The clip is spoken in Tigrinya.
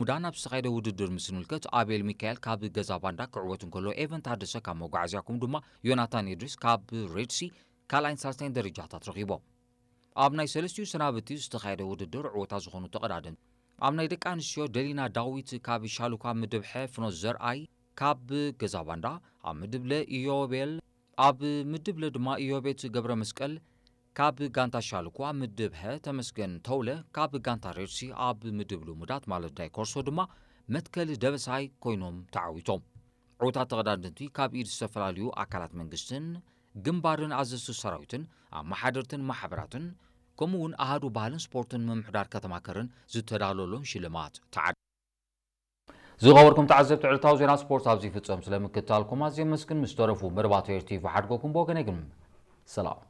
ሙዳ ናብ ዝተኻየደ ውድድር ምስ ንምልከት፣ ኣቤል ሚካኤል ካብ ገዛ ባንዳ ክዕወት እንከሎ፣ ኤቨን ታደሰ ካብ መጓዓዝያ፣ ከምኡ ድማ ዮናታን ኢድሪስ ካብ ሬድሲ ካልኣይን ሳልሳይን ደረጃታት ረኺቦም። ኣብ ናይ ሰለስቲኡ ሰናብቲ ዝተኻየደ ውድድር ዕወታ ዝኾኑ ተቐዳደምቲ፣ ኣብ ናይ ደቂ ኣንስትዮ ደሊና ዳዊት ካብ ሻሉኳ ምድብ ሐ፣ ፍኖት ዘርኣይ ካብ ገዛ ባንዳ፣ ኣብ ምድብ ለ ኢዮቤል፣ ኣብ ምድብ ለ ድማ ኢዮቤት ገብረ መስቀል ካብ ጋንታ ሻሉኳ፣ ምድብ ሐ ተመስገን ተውለ ካብ ጋንታ ሬድሲ፣ ኣብ ምድብ ልሙዳት ማለት ዳይ ኮርሶ ድማ መትከል ደበሳይ ኮይኖም ተዓዊቶም። ዕውታት ተቐዳደምቲ ካብ ኢድ ዝተፈላለዩ ኣካላት መንግስትን ግንባርን ኣዘዝቲ ሰራዊትን ኣመሓደርትን ማሕበራትን ከምኡ እውን ኣሃዱ ባህልን ስፖርትን ምምሕዳር ከተማ ከረን ዝተዳለወሎም ሽልማት ተዓድ ዝኸበርኩም ተዓዘብቲ ዕለታዊ ዜና ስፖርት ኣብዚ ይፍጸም። ስለምክትታልኩም ኣዝየ መስግን። ምስ ተረፉ መደባት ኤር ቲቪ ሓድጎኩም ብወገነይ ግን ሰላም።